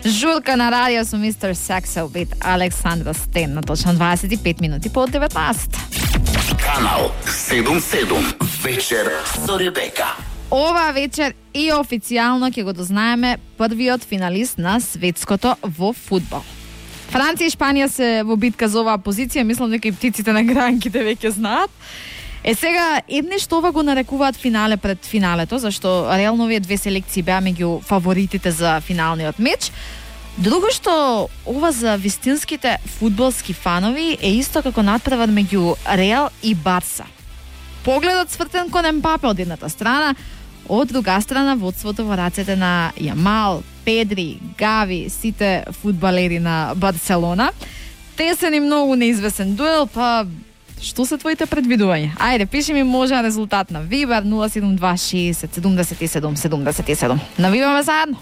Журка на радио со мистер Сексел бит Александра Стен на точно 25 минути по 19. Канал 77 вечер со Ребека. Ова вечер и официјално ќе го дознаеме првиот финалист на светското во фудбал. Франција и Шпанија се во битка за оваа позиција, мислам дека и птиците на гранките веќе знаат. Сега, едни што ова го нарекуваат финале пред финалето, зашто реално овие две селекции беа меѓу фаворитите за финалниот меч. Друго што ова за вистинските фудбалски фанови е исто како надпревар меѓу Реал и Барса. Погледот свртен кон Ембапе од едната страна, од друга страна водството во рацете на Јамал, Педри, Гави, сите фудбалери на Барселона. Тесен и многу неизвестен дуел, па што се твоите предвидувања? Ајде, пиши ми можен резултат на Вибер 072 60 77 77. Навиваме заедно.